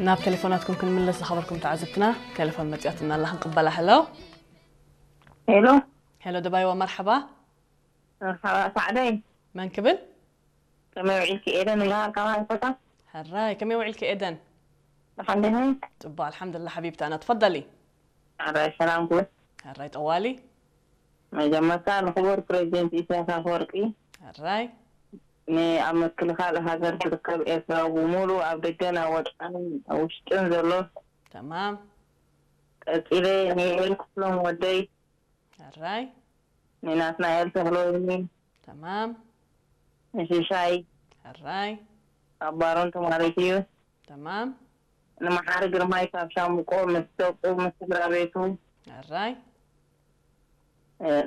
ናብ ቴሌፎናትኩም ክንምለስ ዝኸበርኩም ተዓዘብትና፣ ቴሌፎን መጽያትና ኣላ ክንቅበላ። ሄሎ። ሄሎ። ሄሎ ደባይዋ፣ መርሓባ። መርሓባ ሳዕደይ። መን ክብል? ከመይ ውዒልኪ? ኤደን ይበሃል ካብ ሃይኮታ። ሕራይ፣ ከመይ ውዒልኪ ኤደን? ደሓን ዲኺ? ጽቡቕ ኣልሓምዱሊላህ ሓቢብቲ፣ ኣና ትፈደሊ። ሕራይ ሰላም ክብል። ሕራይ ጠዋሊ። መጀመርታ ንክቡር ፕሬዚደንት ኢሳያስ ኣፈወርቂ፣ ሕራይ። ንኣብ ምክልኻል ሃገር ትርከብ ኤርትራ ብምሉእ ኣብ ደገን ኣብ ወጻእን ኣብ ውሽጥን ዘሎ፣ ተማም። ቀጺለ ንኤል ክፍሎም ወደይ፣ ሕራይ። ንናትናኤል ተኽለወይኒ፣ ተማም። ንሽሻይ ሕራይ። ካብ ባሮን ተማሪት እዩ፣ ተማም። ንመሓሪ ግርማይ ካብ ሻምቆ ምስ ደቁ ምስ ስድራ ቤቱ፣ ሕራይ።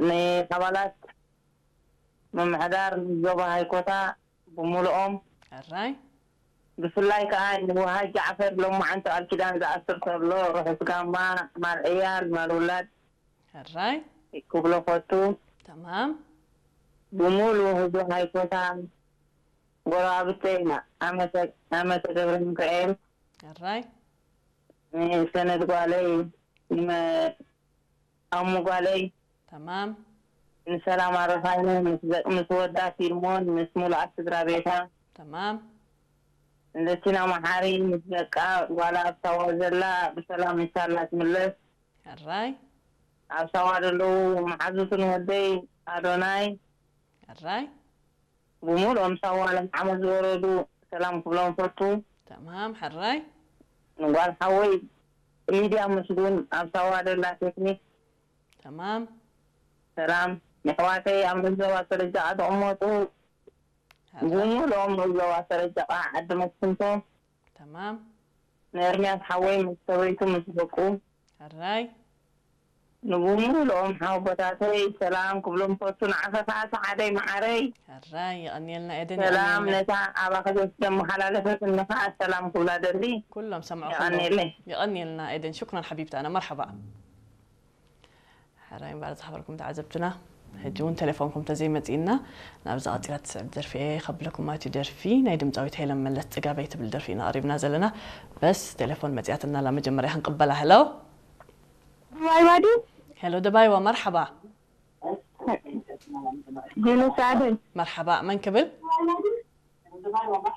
ንኣባላት ምምሕዳር ዞባ ሃይኮታ ብምሉኦም፣ ሕራይ። ብፍላይ ከዓ ንውሃ ጃዕፈር ሎማዓንቲ ቃል ኪዳን ዝኣስር ዘሎ ርሑስ ጋማ፣ ማል ዕያል ማል ውላድ ሕራይ። ክብሎ ፈቱ። ተማም። ብምሉእ ህዝቢ ሃይኮታ፣ ጎረባብተይ፣ ኣመተ ኣመተ ገብረ ሚካኤል፣ ሕራይ። ንሰነድ ጓለይ፣ ንመ ኣሙ ጓለይ፣ ተማም። ንሰላም ኣረፋይነ፣ ምስ ወዳ ፊልሞን ምስ ሙሉኣት ስድራ ቤታ፣ ተማም። ንለቲና መሓሪ ምስ ደቃ፣ ጓላ ኣብ ሳዋ ዘላ ብሰላም ኢንሻላ ትምለስ። ሕራይ። ኣብ ሳዋ ዘለዉ መሓዙትን ወደይ ኣዶናይ፣ ሕራይ። ብምሉኦም ሳዋ ለምዓመት ዝወረዱ ሰላም ክብሎም ፈቱ። ተማም። ሕራይ። ንጓል ሓወይ ሊድያ ምስጉን ኣብ ሳዋ ደላ ቴክኒክ፣ ተማም። ሰላም። ንኣሕዋተይ ኣብ ንዞባ ሰረጃ ዝቕመጡ፣ ሕራይ። ብምሉኦም ንዞባ ሰረጃ ዓዲ መስፍንቶ፣ ተማም። ንኤርምያስ ሓወይ ምስ ሰበይቱ ምስ ደቁ፣ ሕራይ። ንብምሉኦም ሓወቦታተይ ሰላም ክብሎም ፈቱ። ንዓኸ ከዓ ሰዓደይ መዓረይ፣ ሕራይ። የቐንየልና ኤደን፣ ሰላም የቐንየልና። ነታ ኣባኺ ዘስደመሓላለፈት እንኻ ሰላም ክብላ ደሊ። ኩሎም ሰምዑ የቐንየለይ። የቐንየልና ኤደን፣ ሽኩራን ሓቢብቲ፣ ኣነ መርሓባ። ሕራይ እምበኣር ዝኸበርኩም ተዓዘብትና፣ ሕጂ እውን ቴሌፎንኩም ተዘይመጺእና፣ ናብዛ ቀጺላ ትስዕብ ደርፊ እየ ከብለኩም። እቲ ደርፊ ናይ ድምፃዊት ሄለን መለስ ጽጋበይ ትብል ደርፊ ኢና ቀሪብና ዘለና። በስ ቴሌፎን መጺኣትና ኣላ፣ መጀመርያ ክንቅበላ። ሄሎ። ደባይዋ ድዩ? ሄሎ ደባይዋ፣ መርሓባ። ጅኑስ ኣደይ። መርሓባ፣ መን ክብል?